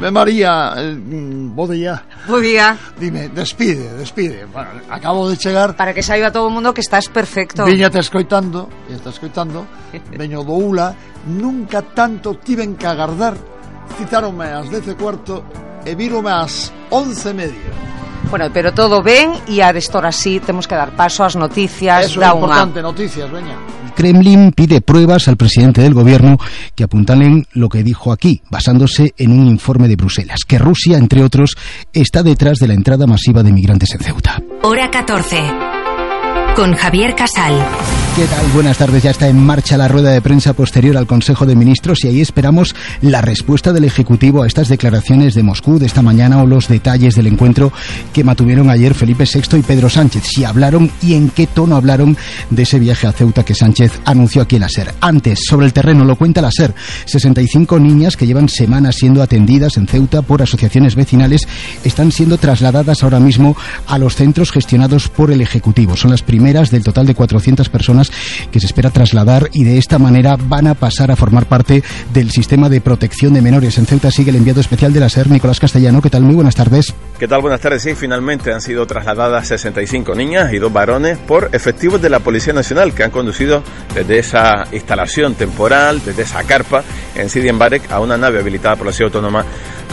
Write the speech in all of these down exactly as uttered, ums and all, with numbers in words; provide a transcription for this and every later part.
Eh, María, eh, bo día. Bo día. Dime, despide, despide. Bueno, acabo de chegar. Para que saiba todo o mundo que estás perfecto. Viñate escoitando, e está escoitando. Veño do Ula, nunca tanto tiven que agardar. Citaronme ás dez e cuarto e vírome ás once e media. Bueno, pero todo ben e ahora sí temos que dar paso ás noticias. Eso é importante, una... noticias, veña. El Kremlin pide pruebas al presidente del gobierno que apuntalen lo que dijo aquí, basándose en un informe de Bruselas, que Rusia, entre otros, está detrás de la entrada masiva de migrantes en Ceuta. Hora catorce. Con Javier Casal. ¿Qué tal? Buenas tardes. Ya está en marcha la rueda de prensa posterior al Consejo de Ministros y ahí esperamos la respuesta del Ejecutivo a estas declaraciones de Moscú de esta mañana o los detalles del encuentro que mantuvieron ayer Felipe sexto y Pedro Sánchez. Si hablaron y en qué tono hablaron de ese viaje a Ceuta que Sánchez anunció aquí en la SER. Antes, sobre el terreno, lo cuenta la SER. sesenta y cinco niñas que llevan semanas siendo atendidas en Ceuta por asociaciones vecinales están siendo trasladadas ahora mismo a los centros gestionados por el Ejecutivo. Son las primeras del total de cuatrocientas personas que se espera trasladar y de esta manera van a pasar a formar parte del sistema de protección de menores. En Ceuta sigue el enviado especial de la SER, Nicolás Castellano. ¿Qué tal? Muy buenas tardes. ¿Qué tal? Buenas tardes. Sí, finalmente han sido trasladadas sesenta y cinco niñas y dos varones por efectivos de la Policía Nacional que han conducido desde esa instalación temporal, desde esa carpa en Sidi Mbarek a una nave habilitada por la Ciudad Autónoma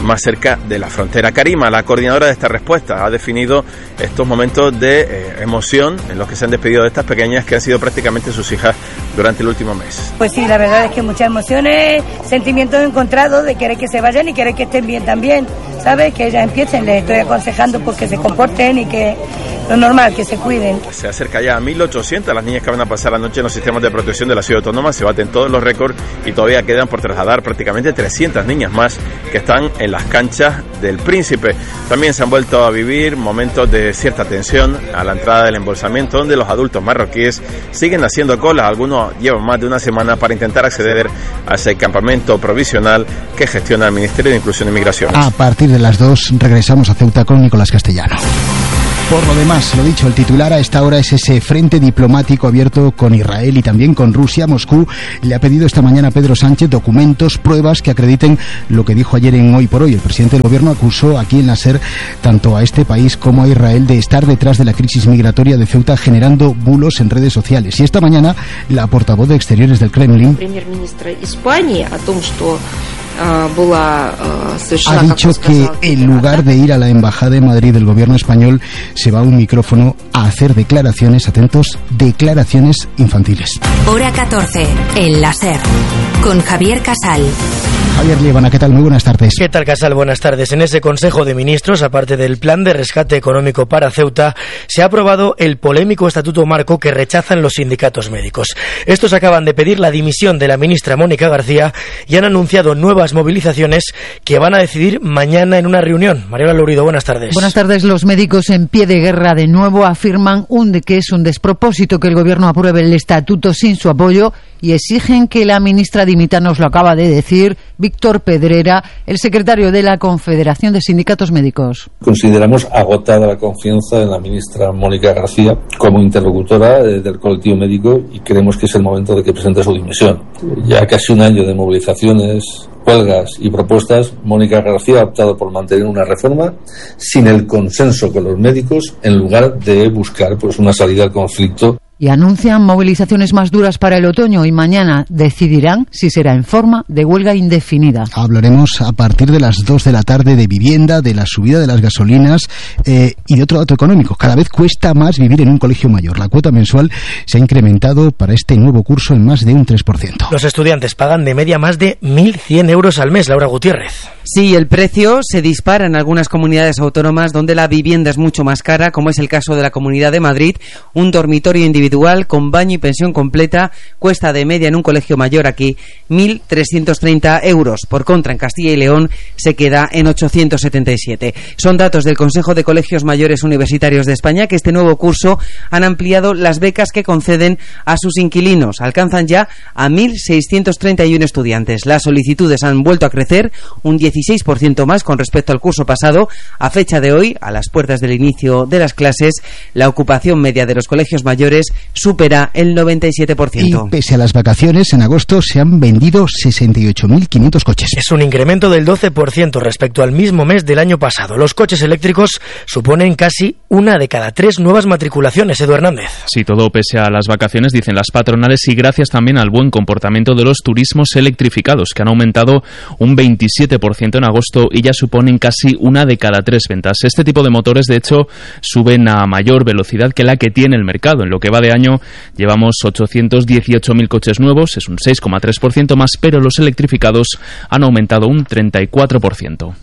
más cerca de la frontera. Karima, la coordinadora de esta respuesta, ha definido estos momentos de eh, emoción en los que se han despedido de estas pequeñas que han sido prácticamente sus hijas durante el último mes. Pues sí, la verdad es que muchas emociones, sentimientos encontrados de querer que se vayan y querer que estén bien también, ¿sabes? Que ellas empiecen, les estoy aconsejando pues que se comporten y que lo normal, que se cuiden. Se acerca ya a mil ochocientas las niñas que van a pasar la noche en los sistemas de protección de la Ciudad Autónoma, se baten todos los récords y todavía quedan por trasladar prácticamente trescientas niñas más que están en las canchas del Príncipe. También se han vuelto a vivir momentos de cierta tensión a la entrada del embolsamiento, donde los adultos marroquíes siguen haciendo cola. Algunos llevan más de una semana para intentar acceder a ese campamento provisional que gestiona el Ministerio de Inclusión y Migraciones. A partir de las dos regresamos a Ceuta con Nicolás Castellano. Por lo demás, lo dicho, el titular a esta hora es ese frente diplomático abierto con Israel y también con Rusia. Moscú le ha pedido esta mañana a Pedro Sánchez documentos, pruebas que acrediten lo que dijo ayer en Hoy por Hoy. El presidente del gobierno acusó aquí en la SER tanto a este país como a Israel de estar detrás de la crisis migratoria de Ceuta, generando bulos en redes sociales. Y esta mañana la portavoz de Exteriores del Kremlin ha dicho que en lugar de ir a la Embajada de Madrid del gobierno español se va a un micrófono a hacer declaraciones, atentos, declaraciones infantiles. Hora catorce, en la SER, con Javier Casal. Javier Liebana, ¿qué tal? Muy buenas tardes. ¿Qué tal, Casal? Buenas tardes. En ese Consejo de Ministros, aparte del plan de rescate económico para Ceuta, se ha aprobado el polémico Estatuto Marco que rechazan los sindicatos médicos. Estos acaban de pedir la dimisión de la ministra Mónica García y han anunciado nuevas movilizaciones que van a decidir mañana en una reunión. Mariela Lourido, buenas tardes. Buenas tardes. Los médicos en pie de guerra de nuevo afirman un de que es un despropósito que el gobierno apruebe el estatuto sin su apoyo y exigen que la ministra dimita. Nos lo acaba de decir Víctor Pedrera, el secretario de la Confederación de Sindicatos Médicos. Consideramos agotada la confianza en la ministra Mónica García como interlocutora del colectivo médico y creemos que es el momento de que presente su dimisión. Ya casi un año de movilizaciones, huelgas y propuestas, Mónica García ha optado por mantener una reforma sin el consenso con los médicos en lugar de buscar pues una salida al conflicto. Y anuncian movilizaciones más duras para el otoño y mañana decidirán si será en forma de huelga indefinida. Hablaremos a partir de las dos de la tarde de vivienda, de la subida de las gasolinas eh, y de otro dato económico. Cada vez cuesta más vivir en un colegio mayor. La cuota mensual se ha incrementado para este nuevo curso en más de un tres por ciento. Los estudiantes pagan de media más de mil cien euros al mes. Laura Gutiérrez. Sí, el precio se dispara en algunas comunidades autónomas donde la vivienda es mucho más cara, como es el caso de la Comunidad de Madrid. Un dormitorio individual con baño y pensión completa cuesta de media en un colegio mayor aquí mil trescientos treinta euros. Por contra, en Castilla y León se queda en ochocientos setenta y siete. Son datos del Consejo de Colegios Mayores Universitarios de España, que este nuevo curso han ampliado las becas que conceden a sus inquilinos. Alcanzan ya a mil seiscientos treinta y uno estudiantes. Las solicitudes han vuelto a crecer un dieciséis por ciento más con respecto al curso pasado. A fecha de hoy, a las puertas del inicio de las clases, la ocupación media de los colegios mayores supera el noventa y siete por ciento. Y pese a las vacaciones, en agosto se han vendido sesenta y ocho mil quinientos coches. Es un incremento del doce por ciento respecto al mismo mes del año pasado. Los coches eléctricos suponen casi una de cada tres nuevas matriculaciones. Edu Hernández. Sí, todo pese a las vacaciones, dicen las patronales, y gracias también al buen comportamiento de los turismos electrificados, que han aumentado un veintisiete por ciento en agosto y ya suponen casi una de cada tres ventas. Este tipo de motores, de hecho, suben a mayor velocidad que la que tiene el mercado. En lo que va de año llevamos ochocientos dieciocho mil coches nuevos, es un seis coma tres por ciento más, pero los electrificados han aumentado un treinta y cuatro por ciento.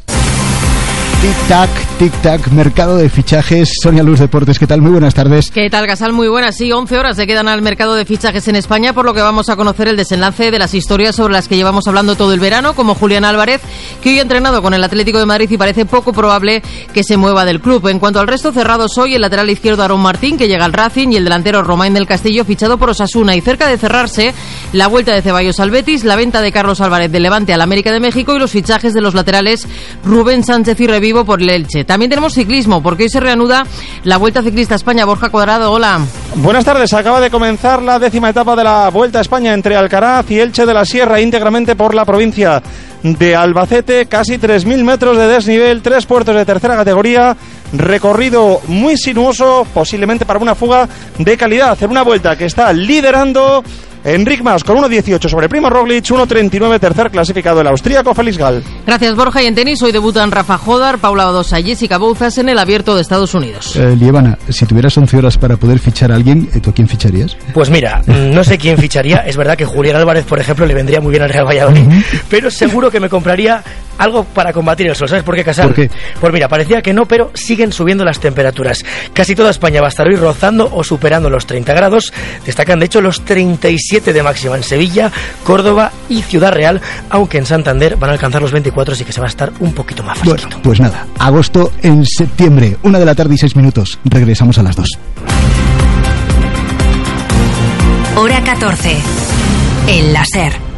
Tic-tac, tic-tac, mercado de fichajes. Sonia Luz Deportes, ¿qué tal? Muy buenas tardes. ¿Qué tal, Gasal? Muy buenas. Sí, once horas se quedan al mercado de fichajes en España, por lo que vamos a conocer el desenlace de las historias sobre las que llevamos hablando todo el verano, como Julián Álvarez, que hoy ha entrenado con el Atlético de Madrid y parece poco probable que se mueva del club. En cuanto al resto, cerrados hoy el lateral izquierdo Aarón Martín, que llega al Racing, y el delantero Romain del Castillo, fichado por Osasuna. Y cerca de cerrarse, la vuelta de Ceballos al Betis, la venta de Carlos Álvarez del Levante al América de México y los fichajes de los laterales Rubén Sánchez y Revivo por el Elche. También tenemos ciclismo, porque hoy se reanuda la Vuelta Ciclista a España. Borja Cuadrado, hola. Buenas tardes. Acaba de comenzar la décima etapa de la Vuelta a España entre Alcaraz y Elche de la Sierra, íntegramente por la provincia de Albacete. Casi tres mil metros de desnivel, tres puertos de tercera categoría, recorrido muy sinuoso, posiblemente para una fuga de calidad, en una vuelta que está liderando Enric Mas con uno dieciocho sobre Primo Roglic, uno treinta y nueve tercer clasificado el austríaco Félix Gall. Gracias, Borja. Y en tenis hoy debutan Rafa Jodar, Paula Badosa y Jessica Bouzas en el Abierto de Estados Unidos. Eh, Lievana, si tuvieras once horas para poder fichar a alguien, ¿tú a quién ficharías? Pues mira, no sé quién ficharía. Es verdad que Julián Álvarez, por ejemplo, le vendría muy bien al Real Valladolid, uh-huh. pero seguro que me compraría algo para combatir el sol. ¿Sabes por qué, Casal? ¿Por qué? Pues mira, parecía que no, pero siguen subiendo las temperaturas. Casi toda España va a estar hoy rozando o superando los treinta grados. Destacan, de hecho, los treinta y siete de máxima en Sevilla, Córdoba y Ciudad Real, aunque en Santander van a alcanzar los veinticuatro, así que se va a estar un poquito más fresquito. Bueno, pues nada, agosto en septiembre, una de la tarde y seis minutos. Regresamos a las dos. Hora catorce. El láser.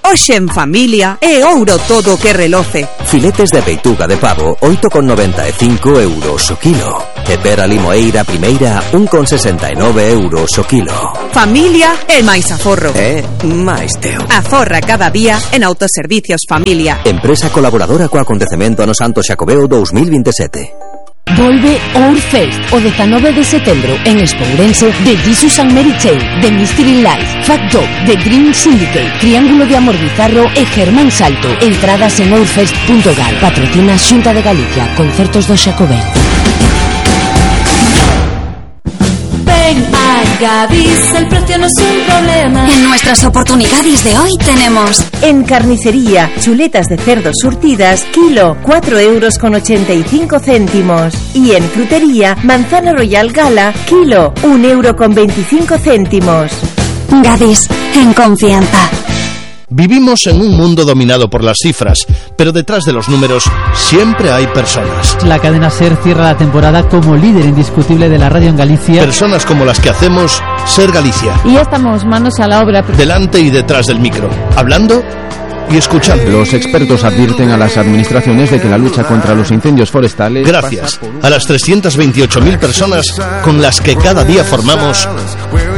Hoxe en familia é ouro todo que reloce. Filetes de peituga de pavo, oito con noventa e cinco euros o kilo. E pera limoeira primeira, un con sesenta e nove euros o kilo. Familia e máis aforro. É máis teo. Aforra cada día en Autoservicios Familia. Empresa colaboradora co acontecemento ano Santo Xacobeo dos mil veintisiete. Volve Ourfest o dezanove de setembro en Espourense, de Jesus and Mary Chain, de Mystery Life, Fat Dog, The Green Syndicate, Triángulo de Amor Bizarro e Germán Salto. Entradas en ourfest punto gal. Patrocina Xunta de Galicia. Concertos do Xacobeo. Ven a Gadis, el precio no es un problema. En nuestras oportunidades de hoy tenemos: en carnicería, chuletas de cerdo surtidas, kilo, cuatro euros con ochenta y cinco céntimos. Y en frutería, manzana royal gala, kilo, un euro con veinticinco céntimos. Gadis, en confianza. Vivimos en un mundo dominado por las cifras, pero detrás de los números siempre hay personas. La cadena SER cierra la temporada como líder indiscutible de la radio en Galicia. Personas como las que hacemos SER Galicia. Y ya estamos manos a la obra. Delante y detrás del micro, hablando y escuchando. Los expertos advierten a las administraciones de que la lucha contra los incendios forestales... Gracias a las trescientas veintiocho mil personas con las que cada día formamos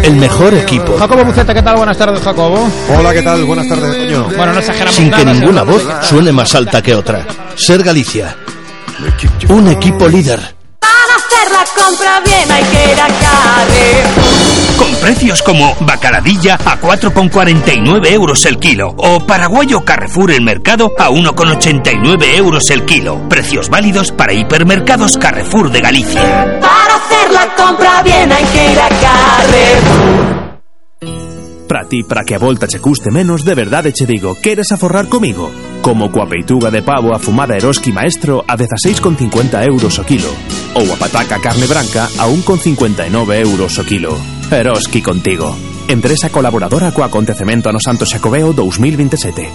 el mejor equipo. Jacobo Buceta, ¿qué tal? Buenas tardes, Jacobo. Hola, ¿qué tal? Buenas tardes, Toño. Bueno, no exageramos Sin nada, que ninguna no voz suene más alta que otra. SER Galicia. Un equipo líder. Para hacer la compra bien hay que ir a Carrefour. Con precios como bacaladilla a cuatro con cuarenta y nueve euros el kilo o paraguayo Carrefour el mercado a uno con ochenta y nueve euros el kilo. Precios válidos para hipermercados Carrefour de Galicia. Para hacer la compra bien hay que ir a Carrefour. Para ti, para que a volta che custe menos, de verdade che digo, queres aforrar comigo? Como coa peituga de pavo afumada Eroski Maestro a dezaseis con cincuenta euros o kilo, ou a pataca carne branca a un con cincuenta e nove euros o kilo. Eroski contigo. Empresa colaboradora co acontecemento ano Santo Xacobeo dos mil veintisiete.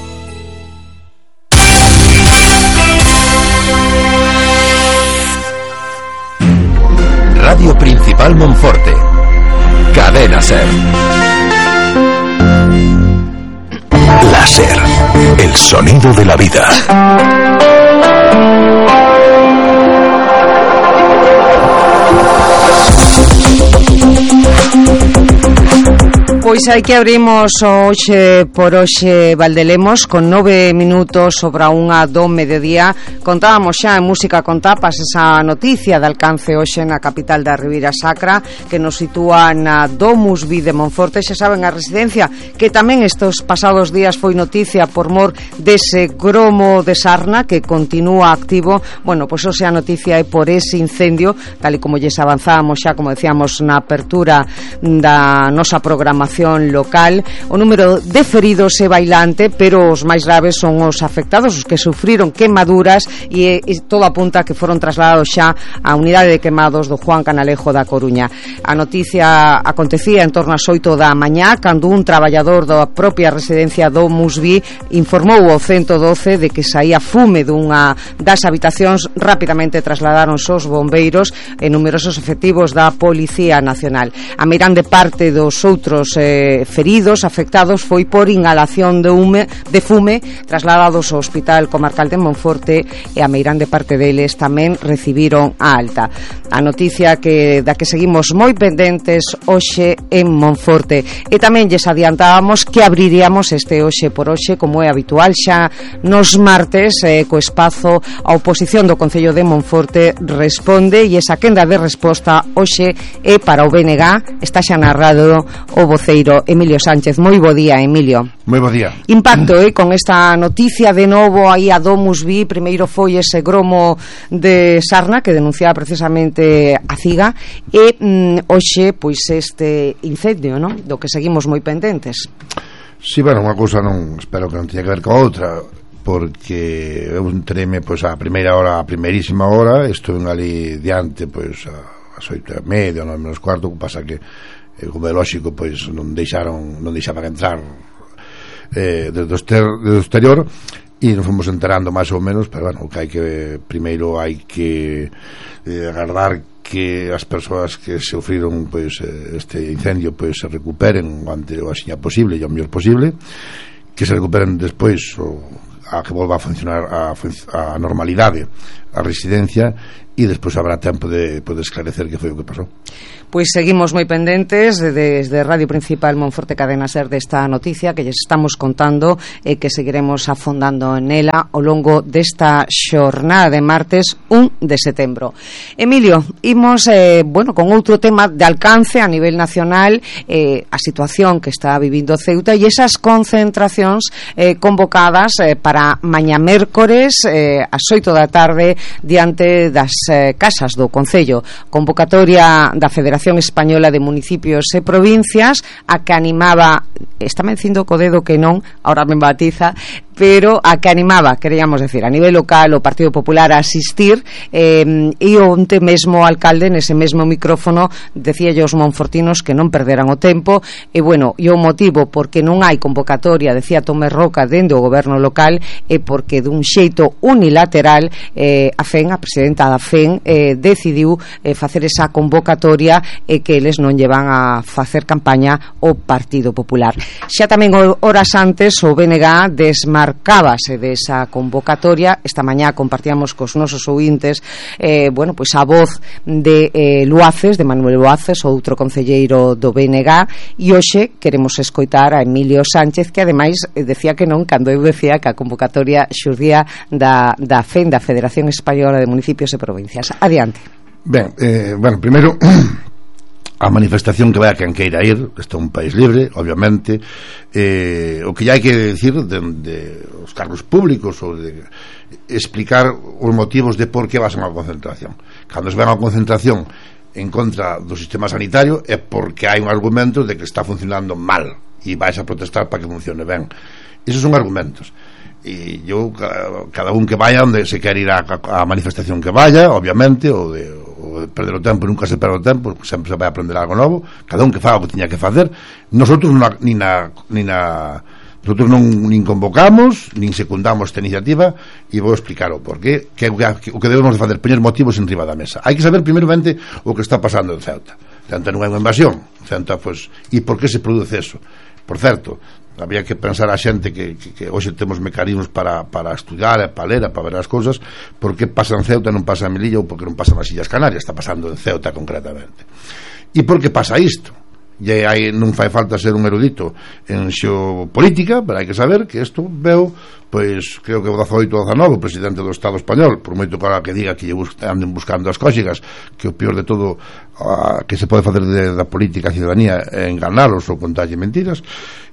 Radio Principal Monforte. Cadena SER. Láser, el sonido de la vida. Pois hai que abrimos hoxe por hoxe Valdelemos con nove minutos sobre a unha do mediodía. Contábamos xa en Música con Tapas esa noticia de alcance hoxe na capital da Ribeira Sacra, que nos sitúa na Domus Vi de Monforte. Xa saben, a residencia que tamén estes pasados días foi noticia por mor dese gromo de sarna que continúa activo. Bueno, pois hoxe a noticia é por ese incendio, tal e como lles avanzábamos xa, como decíamos na apertura da nosa programación local. O número de feridos é bailante, pero os máis graves son os afectados, os que sufriron quemaduras, e, e todo apunta que foron trasladados xa á unidade de quemados do Juan Canalejo da Coruña. A noticia acontecía en torno ás oito da mañá, cando un traballador da propia residencia do Musví informou ao ciento doce de que saía fume dunha das habitacións. Rapidamente trasladaronse os bombeiros e numerosos efectivos da Policía Nacional. A meirande parte dos outros eh, feridos, afectados, foi por inhalación de, hume, de fume, trasladados ao Hospital Comarcal de Monforte, e a meirande parte deles tamén recibiron a alta. A noticia que da que seguimos moi pendentes hoxe en Monforte. E tamén lles adiantábamos que abriríamos este hoxe por hoxe, como é habitual xa nos martes, eh, co espazo a oposición do Concello de Monforte responde, e esa quenda de resposta hoxe é para o B N G. Está xa narrado o voceiro Emilio Sánchez. Moi bo día, Emilio. Moi bo día. Impacto, eh, con esta noticia de novo aí a Domus Vi. Primeiro foi ese gromo de sarna que denunciaba precisamente a Ciga, e mm, hoxe pois este incendio, non? Do que seguimos moi pendentes. Si, sí, bueno, unha cousa non, espero que non teña que ver con outra, porque eu entreime pois a primeira hora, a primeirísima hora, estuve ali diante pois a as oito e media, nove menos cuarto, que pasa que como é lógico, pois non deixaron, non deixaban entrar eh, desde, o exter, desde o exterior, e nos fomos enterando máis ou menos, pero bueno, que hai que primeiro hai que eh, agardar que as persoas que sufriron pois este incendio pois se recuperen o antes o axiña posible e o mellor posible, que se recuperen despois o, a que volva a funcionar a, a normalidade a residencia, e despois habrá tempo de poder esclarecer que foi o que pasou. Pois seguimos moi pendentes desde Radio Principal Monforte Cadena Ser desta noticia que lles estamos contando, e que seguiremos afondando nela ao longo desta xornada de martes un de setembro. Emilio, imos eh, bueno, con outro tema de alcance a nivel nacional, eh, a situación que está vivindo Ceuta e esas concentracións eh, convocadas eh, para mañá mércores eh, ás oito da tarde diante das eh, casas do Concello. Convocatoria da Federación Española de Municipios e Provincias, a que animaba, está me dicindo co dedo que non, ahora me batiza, pero a que animaba, queríamos decir, a nivel local o Partido Popular a asistir, eh, e onte mesmo o alcalde nese mesmo micrófono decía aos monfortinos que non perderan o tempo, e bueno, e o motivo porque non hai convocatoria, decía Tomé Roca, dende o goberno local, é porque dun xeito unilateral eh, a F E N, a presidenta da F E N, eh, decidiu eh, facer esa convocatoria, e que eles non llevan a facer campaña o Partido Popular. Xa tamén horas antes o B N G desmarcábase desa convocatoria. Esta mañá compartíamos cos nosos ouvintes eh, bueno, pois a voz de eh, Luaces, de Manuel Luaces, outro concelleiro do B N G, e hoxe queremos escoitar a Emilio Sánchez, que ademais decía que non cando eu decía que a convocatoria xurdía da, da F E N, da Federación Española de Municipios e Provincias. Adiante. Ben, eh, bueno, primeiro a manifestación que vai a quen queira ir, este é un país libre, obviamente, eh, o que ya hai que decir de, de os cargos públicos, ou de explicar os motivos de por que vas a unha concentración. Cando se vai a unha concentración en contra do sistema sanitario é porque hai un argumento de que está funcionando mal e vais a protestar para que funcione ben. Esos son argumentos, e eu, cada un que vaya onde se quer ir a, a manifestación que vaya, obviamente, ou de, ou de perder o tempo, nunca se perde o tempo, sempre se vai a aprender algo novo, cada un que faga o que tiña que facer. Nosotros na, ni na, ni na nosotros non nin convocamos nin secundamos esta iniciativa, e vou explicar o porqué, que é o que debemos de facer, poñer motivos en riba da mesa. Hai que saber primeiramente o que está pasando en Ceuta. Ceuta non é unha invasión, Ceuta, pues, e por que se produce eso. Por certo, había que pensar a xente que, que, que hoxe temos mecanismos para, para estudiar, para ler, para ver as cousas, por que pasa en Ceuta e non pasa en Melilla, ou por que non pasa nas Illas Canarias. Está pasando en Ceuta concretamente. E por que pasa isto? e hai, non fai falta ser un erudito en xeopolítica, pero hai que saber que isto veo, pois, creo que o dezaoito ou dezanove o presidente do Estado español, por moito que diga que lle bus anden buscando as cóxigas, que o peor de todo a, que se pode facer de, da política a ciudadanía é enganalos ou contarlle mentiras,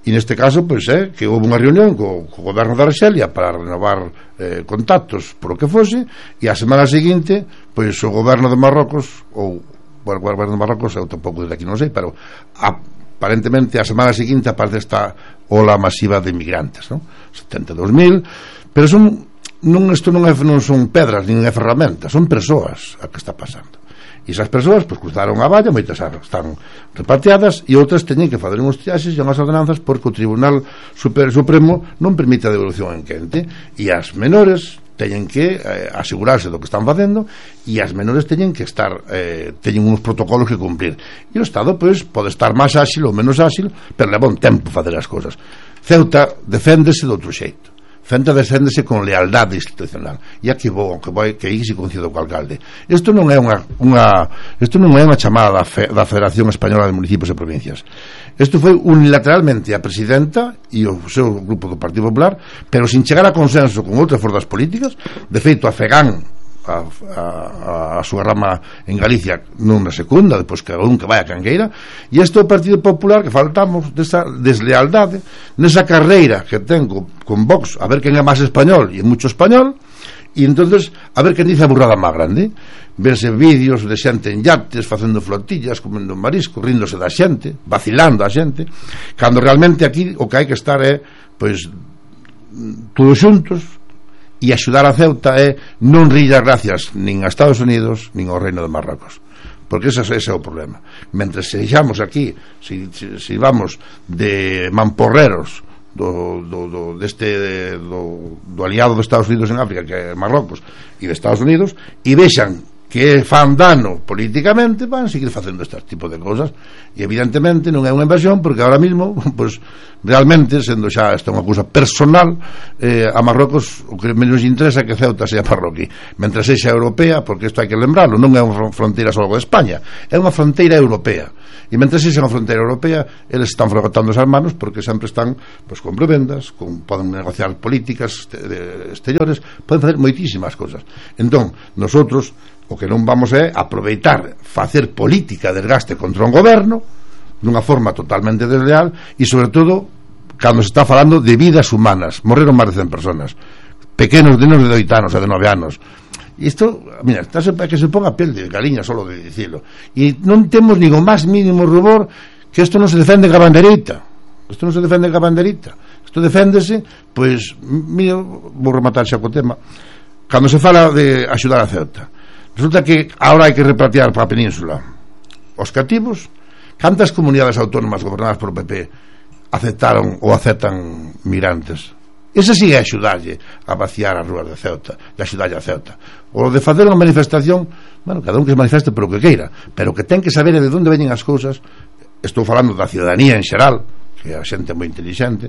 e neste caso, pois, é que houve unha reunión co, co goberno da Arxelia para renovar eh, contactos por o que fose, e a semana seguinte, pois, o goberno de Marrocos, ou o goberno de Marrocos, eu tampouco desde aquí non sei, pero aparentemente a semana seguinte aparece esta ola masiva de inmigrantes, non? setenta e dous mil, pero son non, isto non, é, non son pedras nin é ferramentas, son persoas a que está pasando, e esas persoas pois cruzaron a valla, moitas están repatriadas e outras teñen que fazer uns triaxes e unhas ordenanzas porque o Tribunal Super Supremo non permite a devolución en quente, e as menores teñen que eh, asegurarse do que están facendo, e as menores teñen que estar eh, teñen uns protocolos que cumplir, e o Estado pois pode estar máis áxil ou menos áxil, pero leva un tempo facer as cousas. Ceuta deféndese de outro xeito, Ceuta deféndese con lealdade institucional, e aquí vou, que vai que aí se coincido co alcalde. Isto non é unha, unha isto non é unha chamada da, fe, da Federación Española de Municipios e Provincias. Isto foi unilateralmente a presidenta e o seu grupo do Partido Popular, pero sin chegar a consenso con outras forzas políticas. De feito, a FEGAN, a, a, a súa rama en Galicia, nunha secunda, depois que un que vai a cangueira, e este é o Partido Popular que faltamos desa deslealdade nesa carreira que ten con, con Vox, a ver quen é máis español, e mucho español, e entonces a ver quen dice a burrada máis grande. Verse vídeos de xente en yates facendo flotillas, comendo marisco, ríndose da xente, vacilando a xente, cando realmente aquí o que hai que estar é pois todos xuntos, e axudar a Ceuta é non rir as gracias nin a Estados Unidos nin ao Reino de Marrocos, porque ese, ese é o problema. Mentre sexamos aquí, si, si, si vamos de mamporreros do, do, do, deste, do, do aliado dos Estados Unidos en África, que é Marrocos, e de Estados Unidos, e vexan que fan dano políticamente, van seguir facendo este tipo de cosas, e evidentemente non é unha inversión, porque ahora mismo pues, realmente, sendo xa esta unha cousa personal, eh, a Marrocos o que menos interesa é que Ceuta sea parroquí, mentre sexa europea, porque isto hai que lembrarlo, non é unha fronteira só de España, é unha fronteira europea, e mentre sexa unha fronteira europea, eles están frotando as manos porque sempre están pues, con prebendas, con, poden negociar políticas exteriores, poden facer moitísimas cosas. Entón, nosotros o que non vamos é aproveitar facer política de desgaste contra un goberno dunha forma totalmente desleal, e sobre todo cando se está falando de vidas humanas. Morreron máis de cen personas, pequenos de menos de oito anos ou de nove anos. E isto, mira, está que se ponga a pel de galiña solo de dicilo, e non temos nin o máis mínimo rubor que isto non se defende ca banderita, isto non se defende ca banderita, isto deféndese, pois, mira, vou rematar xa co tema, cando se fala de axudar a Ceuta. Resulta que ahora hai que repatriar para a península os cativos. Cantas comunidades autónomas gobernadas por o P P aceptaron ou aceptan migrantes? Ese sí é axudarlle a vaciar as rúas de Ceuta, e axudarlle a Ceuta. O de facer unha manifestación, bueno, cada un que se manifeste por o que queira, pero que ten que saber de onde veñen as cousas. Estou falando da ciudadanía en xeral, que a xente é moi inteligente,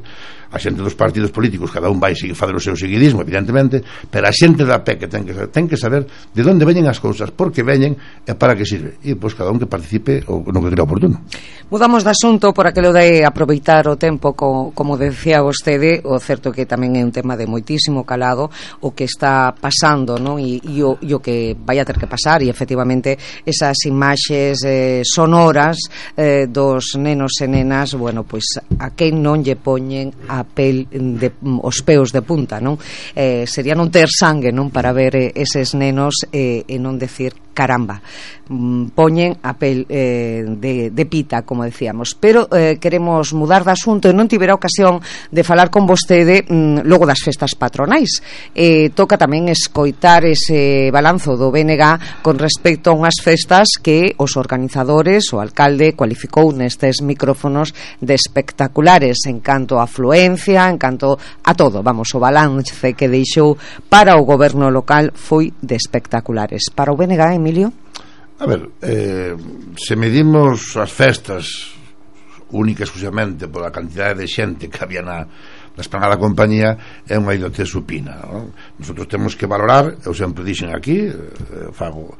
a xente dos partidos políticos, cada un vai seguir fazer o seu seguidismo, evidentemente, pero a xente da P E que ten que, ten que saber de onde veñen as cousas, por que veñen e para que sirve, e pois cada un que participe o no que crea oportuno. Mudamos de asunto por aquilo de aproveitar o tempo, co, como decía vostede, o certo que tamén é un tema de moitísimo calado o que está pasando, non? E, e, o, e o que vai a ter que pasar, e efectivamente esas imaxes eh, sonoras eh, dos nenos e nenas, bueno, pois a quen non lle poñen a pel de, os peos de punta, non? Eh, sería non ter sangue, non, para ver eh, eses nenos eh, e non decir caramba, mm, poñen a pel eh, de, de pita, como decíamos. Pero eh, queremos mudar de asunto, e non tivera ocasión de falar con vostede mm, logo das festas patronais. Eh, toca tamén escoitar ese balanzo do B N G con respecto a unhas festas que os organizadores, o alcalde, cualificou nestes micrófonos de espectaculares en canto a afluencia, en canto a todo. Vamos, o balance que deixou para o goberno local foi de espectaculares. Para o B N G, Emilio? A ver, eh, se medimos as festas única e exclusivamente pola cantidade de xente que había na, na esplanada da compañía é unha idiotez supina, non? Nosotros temos que valorar, eu sempre dixen aquí, eh, fago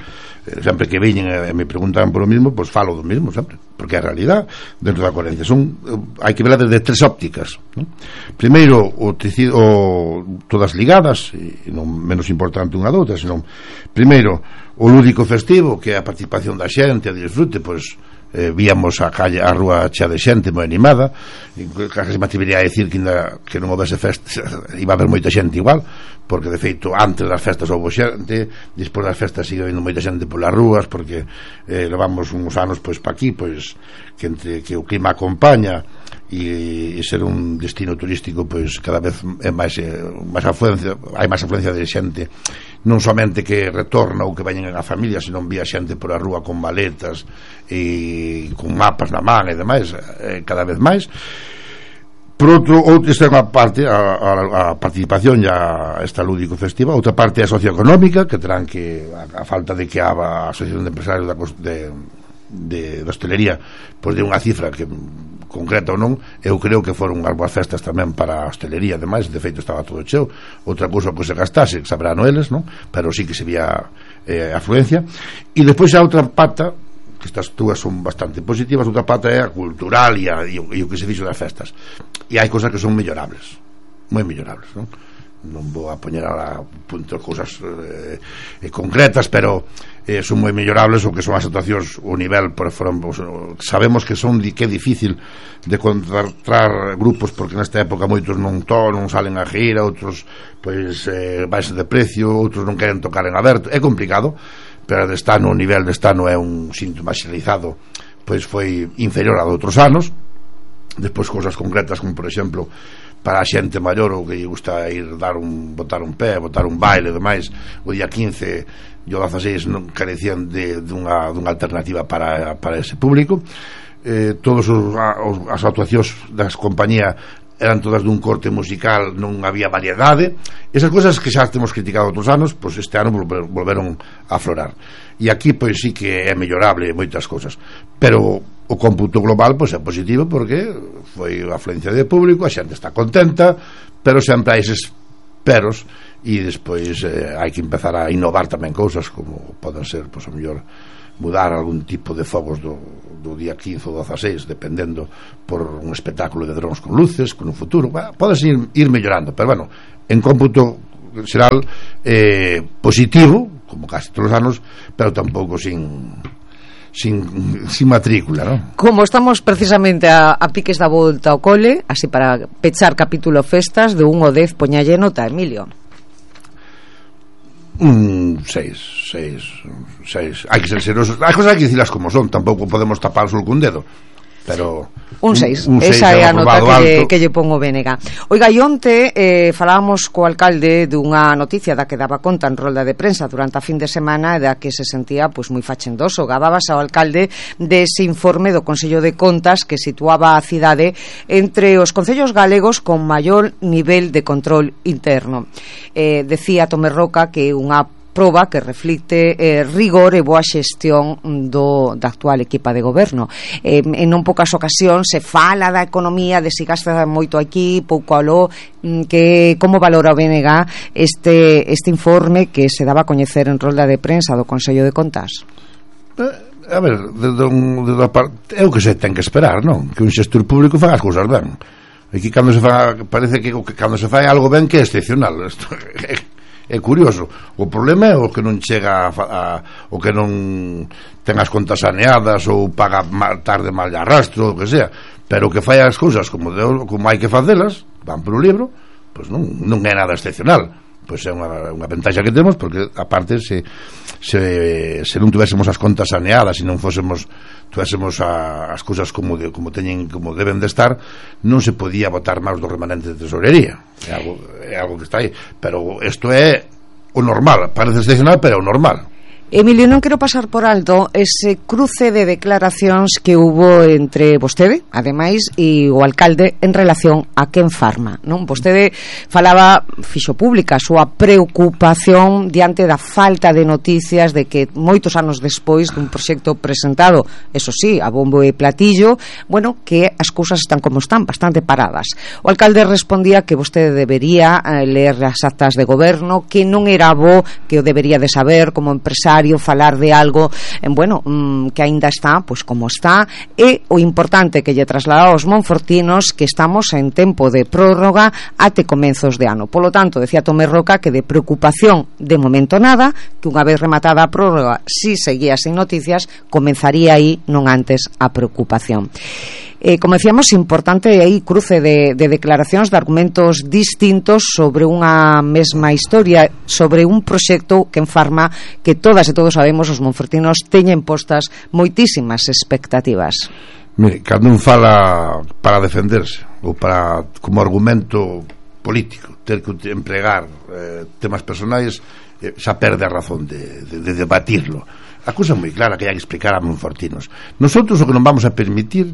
eh, sempre que veñen e me preguntan por o mismo, pois falo do mismo sempre, porque é a realidad dentro da coherencia. Son, hai que verla desde tres ópticas, non? Primeiro, o tecido, o, todas ligadas, e non menos importante unha doutra, senón primeiro o lúdico festivo, que é a participación da xente, a disfrute, pois eh, víamos a calle, a rúa chea de xente moi animada, e casi me atrevería a decir que, ainda, que non houvese festas iba a haber moita xente igual, porque de feito antes das festas houve xente, despois das festas sigue habendo moita xente polas rúas, porque eh, levamos uns anos pois pa aquí, pois que entre que o clima acompaña e, e ser un destino turístico, pois cada vez é máis, eh, máis afluencia, hai máis afluencia de xente, non somente que retorna ou que veñen a familia, senón vía xente por a rúa con maletas e con mapas na man e demais, eh, cada vez máis. Por outro, outra esta é unha parte, a, a, a participación ya esta lúdico festiva. Outra parte é socioeconómica, que terán que a, a falta de que a, a Asociación de Empresarios da, de, de, de hostelería pois de unha cifra que concreta ou non, eu creo que foron unhas boas festas tamén para a hostelería, ademais, de feito estaba todo cheo. Outra cousa que se gastase, sabrán eles, non? Pero sí que se vía eh, afluencia. E despois a outra pata, que estas dúas son bastante positivas, outra pata é a cultural e, a, e, o, e o que se fixo das festas, e hai cousas que son mellorables, moi mellorables, non? Non vou a poñer a punto cousas eh, eh, concretas, pero eh, son moi mellorables o que son as actuacións, o nivel, por ejemplo, sabemos que son di, que é difícil de contratar grupos, porque nesta época moitos non to, non salen a gira, outros pois eh, baixa de precio, outros non queren tocar en aberto, é complicado, pero de estano, o nivel de estano é un síntoma xeneralizado, pois foi inferior a de outros anos. Despois cousas concretas como por exemplo para a xente maior ou que lle gusta ir dar un, botar un pé, botar un baile e demais, o día quince e o dezaseis non carecían de, de unha, dunha alternativa para, para ese público. Eh, todos os, os, as actuacións das compañías eran todas dun corte musical, non había variedade. Esas cousas que xa temos criticado outros anos, pois este ano volveron a aflorar. E aquí pois sí que é mellorable moitas cousas, pero o cómputo global pois é positivo, porque foi a afluencia de público, a xente está contenta, pero sempre hai eses peros, e despois eh, hai que empezar a innovar tamén cousas como poden ser, pois a mellor mudar algún tipo de fogos do, do día quince ou dezaseis, dependendo por un espectáculo de drons con luces, con un futuro, bueno, podes ir, ir mellorando, pero bueno, en cómputo xeral eh, positivo, como casi todos os anos, pero tampouco sin sin, sin matrícula, ¿no? Como estamos precisamente a, a piques da volta ao cole, así para pechar capítulo festas, de un ao dez poñalle nota, Emilio. Un seis, seis, seis. Hai que ser seriosos. As cousas hai que dicilas como son. Tampouco podemos tapar o sol cun dedo. Pero un seis, un, un seis esa é a nota que lle, que lle pongo Bénega. Oiga, e onte eh, falábamos co alcalde dunha noticia da que daba conta en rolda de prensa durante a fin de semana, e da que se sentía pois moi fachendoso. Gabábase ao alcalde dese informe do Consello de Contas que situaba a cidade entre os concellos galegos con maior nivel de control interno. Eh, decía Tomé Roca que unha proba que reflicte eh, rigor e boa xestión do, da actual equipa de goberno. Eh, en non poucas ocasións se fala da economía, de se gasta moito aquí, pouco aló, que como valora o B N G este, este informe que se daba a coñecer en rolda de prensa do Consello de Contas? Eh, a ver, de, de, de, de, de, é o que se ten que esperar, non? Que un xestor público faga as cousas ben. Aquí cando se fa, parece que, que cando se fai algo ben que é excepcional. Isto é curioso. O problema é o que non chega a, a, o que non ten as contas saneadas ou paga mal, tarde mal de arrastro, o que sea, pero o que fai as cousas como, de, como hai que facelas, van por un libro, pois non, non é nada excepcional. Pois é unha, unha ventaxa que temos, porque aparte se, se, se non tuvéssemos as contas saneadas e non fósemos tuvéssemos a, as cousas como, de, como teñen, como deben de estar, non se podía botar máis do remanente de tesorería. É algo, é algo que está aí, pero isto é o normal, parece excepcional, pero é o normal. Emilio, non quero pasar por alto ese cruce de declaracións que hubo entre vostede, ademais, e o alcalde en relación a Ken Pharma, non? Vostede falaba, fixo pública a súa preocupación diante da falta de noticias de que moitos anos despois dun proxecto presentado, eso sí, a bombo e platillo, bueno, que as cousas están como están, bastante paradas. O alcalde respondía que vostede debería eh, ler as actas de goberno, que non era bo, que o debería de saber como empresario, falar de algo en, bueno, mmm, que aínda está pois como está, e o importante que lle trasladaba aos monfortinos que estamos en tempo de prórroga até comenzos de ano. Polo tanto, decía Tomé Roca que de preocupación de momento nada, que unha vez rematada a prórroga, si seguía sin noticias, comenzaría aí, non antes, a preocupación. Eh, como decíamos, importante aí cruce de, de declaracións, de argumentos distintos sobre unha mesma historia, sobre un proxecto que en Pharma que todas e todos sabemos os monfortinos teñen postas moitísimas expectativas. Mire, cando un fala para defenderse ou para como argumento político ter que empregar eh, temas personais, eh, xa perde a razón de, de, de debatirlo. A cousa é moi clara que hai que explicar a monfortinos. Nosotros o que non vamos a permitir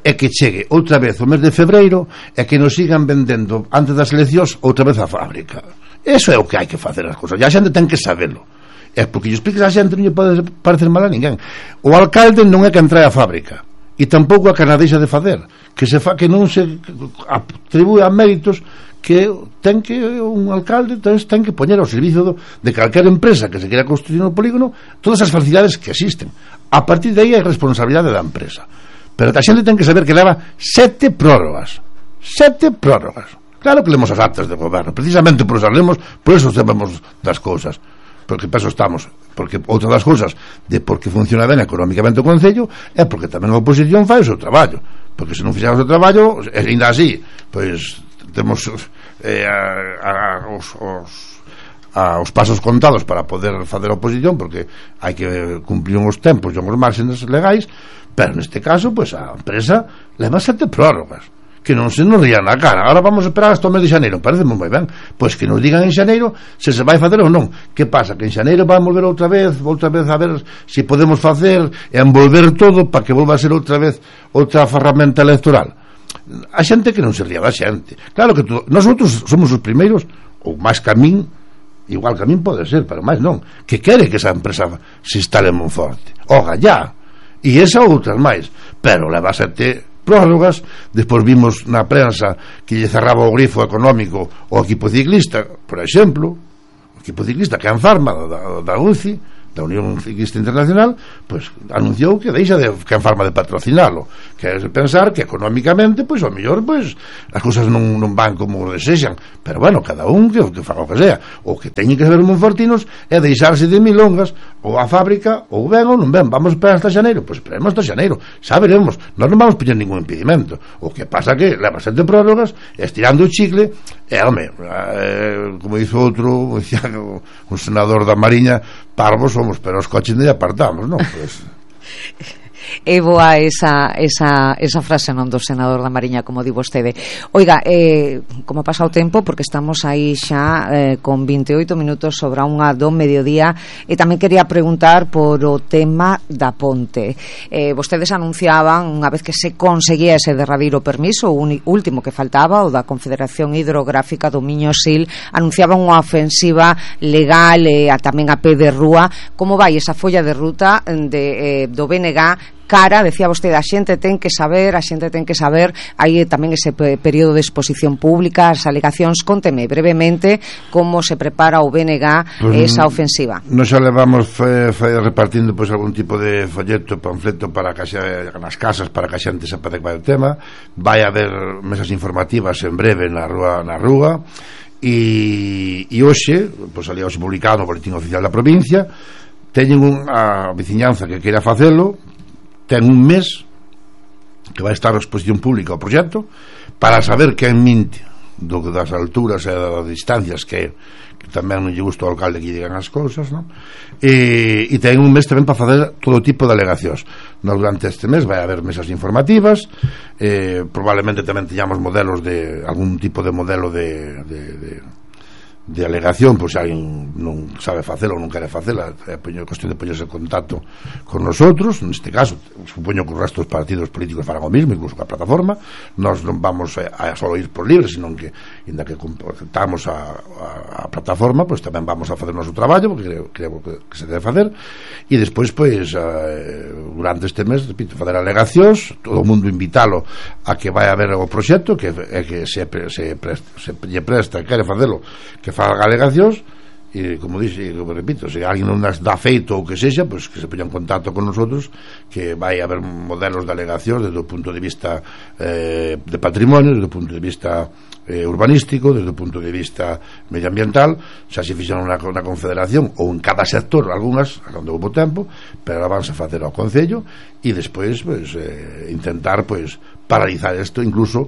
é que chegue outra vez o mes de febreiro e que nos sigan vendendo antes das eleccións outra vez a fábrica. Eso é o que hai que facer as cousas, e a xente ten que saberlo. É porque lle expliques a xente non lle pode parecer mal a ninguén. O alcalde non é que trae a fábrica, e tampouco a que na deixa de facer, que se fa que non se atribúe a méritos que ten que un alcalde ten que poñer ao servicio do, de calquera empresa que se quera construir no polígono todas as facilidades que existen. A partir de aí é responsabilidade da empresa. Pero a xente ten que saber que leva sete prórrogas sete prórrogas claro que lemos as actas de goberno, precisamente por eso lemos, por eso sabemos das cousas, porque para eso estamos, porque outra das cousas de por que funciona ben económicamente o Concello é porque tamén a oposición fai o seu traballo, porque se non fixamos o traballo, e ainda así pois temos eh, a, a, os, os a, os pasos contados para poder facer a oposición, porque hai que cumplir uns tempos e uns márgenes legais. Pero neste caso, pois a empresa leva sete prórrogas, que non se nos rían na cara. Ahora vamos a esperar hasta o mes de xaneiro, parece moi ben. Pois que nos digan en xaneiro se se vai facer ou non. Que pasa? Que en xaneiro van volver outra vez, outra vez a ver se podemos facer e envolver todo para que volva a ser outra vez outra ferramenta electoral. A xente que non se ría da xente. Claro que tú, nosotros somos os primeiros, ou máis que a min, igual que a min pode ser, pero máis non, que quere que esa empresa se instale en Monforte. Oga, ya. E esa outras máis, pero leva sete prórrogas. Despois vimos na prensa que lle cerraba o grifo económico o equipo ciclista, por exemplo, o equipo ciclista que é en Pharma da, da U C I, da Unión Ciclista Internacional, pois anunciou que deixa de que en Pharma de patrocinalo, que é pensar que económicamente pois ao mellor pois as cousas non, non van como desexan, pero bueno, cada un que, que faga o que sea. O que teñen que saber os monfortinos é deixarse de milongas, ou a fábrica ou ben ou non ben. Vamos esperar hasta xaneiro, pois esperemos hasta xaneiro, xa veremos, nós non vamos poñer ningún impedimento. O que pasa que leva sete prórrogas estirando o chicle e, home, eh, como dice outro, un senador da Mariña, parvos somos, pero os coches non apartamos, non? Pues... É boa esa, esa, esa frase non do senador da Mariña, como di vostede. Oiga, eh, como pasa o tempo, porque estamos aí xa eh, con vinte e oito minutos sobre a unha do mediodía, e tamén quería preguntar por o tema da ponte. Eh, vostedes anunciaban, unha vez que se conseguía ese derradeiro permiso, o último que faltaba, o da Confederación Hidrográfica do Miño Sil, anunciaban unha ofensiva legal e a, tamén a pé de rúa. Como vai esa folla de ruta de, eh, do B N G cara, decía vostede, a xente ten que saber, a xente ten que saber, hai tamén ese período de exposición pública, as alegacións. Conteme brevemente como se prepara o B N G pues, esa ofensiva. Nos xa levamos fe, fe, repartindo pois, algún tipo de folleto, panfleto para que xa, nas casas para que a xente sepa de qual é o tema. Vai haber mesas informativas en breve na rúa, na rúa e, e hoxe, pois, ali hoxe publicado no Boletín Oficial da Provincia, teñen unha veciñanza que queira facelo, ten un mes que vai estar a exposición pública o proxecto para saber quen minte do, das alturas e das distancias que, que tamén non lle gusta ao alcalde que digan as cousas, non? E, e ten un mes tamén para facer todo tipo de alegacións. No, durante este mes vai haber mesas informativas, eh, probablemente tamén teñamos modelos de algún tipo de modelo de, de, de de alegación, pois se alguén non sabe facela ou non quere facela, é a cuestión de poñerse en contacto con nosotros. Neste caso, supoño que os restos dos partidos políticos farán o mismo, incluso que a plataforma. Nós non vamos a, a só ir por libre, senón que, inda que aceptamos a, a, a plataforma, pois tamén vamos a fazer o noso traballo, porque creo, creo que, que se debe facer, e despois, pois, eh, durante este mes, repito, fazer alegacións, todo o mundo invitalo a que vai a ver o proxecto, que é que se, se, presta, se lle presta, quere facelo, que faga alegacións, e como dixe, como repito, se alguén non das dá feito ou que sexa, pois que se poña en contacto con nosotros, que vai haber modelos de alegacións desde o punto de vista eh, de patrimonio, desde o punto de vista eh, urbanístico, desde o punto de vista medioambiental. Xa se fixeron na, na confederación ou en cada sector algunhas, cando houve tempo, pero ahora vanse a facer ao Concello, e despois pois, eh, intentar pois paralizar isto, incluso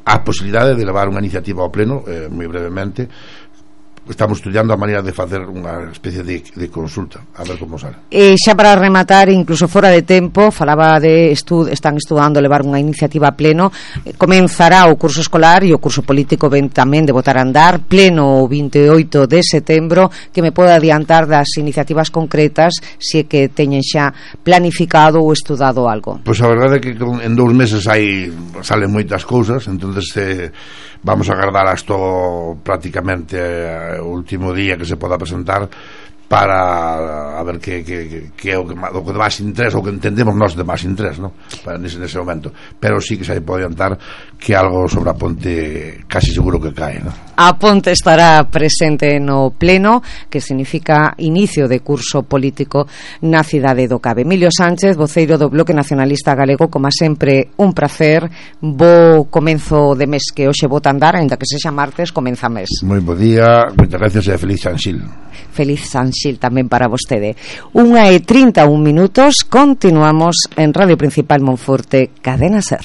a posibilidade de levar unha iniciativa ao pleno, eh, moi brevemente. Estamos estudiando a maneira de facer unha especie de, de consulta, a ver como sale. E xa para rematar, incluso fora de tempo, falaba de estud, están estudando levar unha iniciativa a pleno. Comenzará o curso escolar e o curso político ven tamén de botar a andar, pleno o vinte e oito de setembro. Que me pode adiantar das iniciativas concretas, se é que teñen xa planificado ou estudado algo? Pois a verdade é que en dous meses hai salen moitas cousas, entonces eh, vamos a agardar hasta prácticamente eh, o último día que se poda presentar para a ver que, que, que é o que, o que de máis interés, ou que entendemos nós de máis interés, ¿no? Para nese, nese momento. Pero sí que se pode adiantar que algo sobre a ponte casi seguro que cae, ¿no? A ponte estará presente no pleno, que significa inicio de curso político na cidade do Cabe. Emilio Sánchez, voceiro do Bloque Nacionalista Galego, como sempre un placer. Bo comenzo de mes que hoxe bota andar, ainda que sexa martes, comeza mes. Moi bo día, moitas gracias e feliz Sanxil. Feliz Sanxil tamén para vostede. Unha e trinta e un minutos, continuamos en Radio Principal Monforte, Cadena Ser.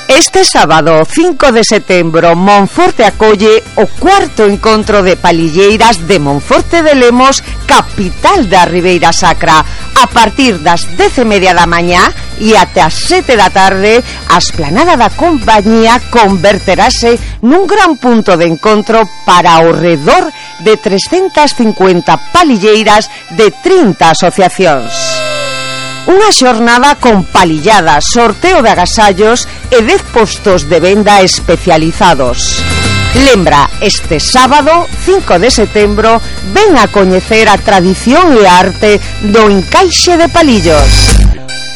Este sábado cinco de setembro Monforte acolle o cuarto encontro de palilleiras de Monforte de Lemos, capital da Ribeira Sacra. A partir das dez e media da mañá e até as sete da tarde, a esplanada da compañía converterase nun gran punto de encontro para ao redor de trescentas cincuenta palilleiras de trinta asociacións. Unha xornada con palilladas, sorteo de agasallos e dez postos de venda especializados. Lembra, este sábado, cinco de setembro, ven a coñecer a tradición e a arte do encaixe de palillos.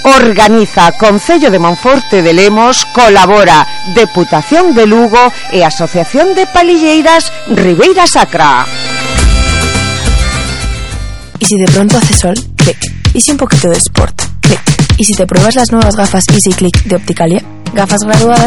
Organiza Concello de Monforte de Lemos, colabora Deputación de Lugo e Asociación de Palilleiras Ribeira Sacra. ¿Y si de pronto hace sol? Clic. ¿Y si un poquito de sport? Clic. ¿Y si te pruebas las nuevas gafas Easy Click de Opticalia? Gafas graduadas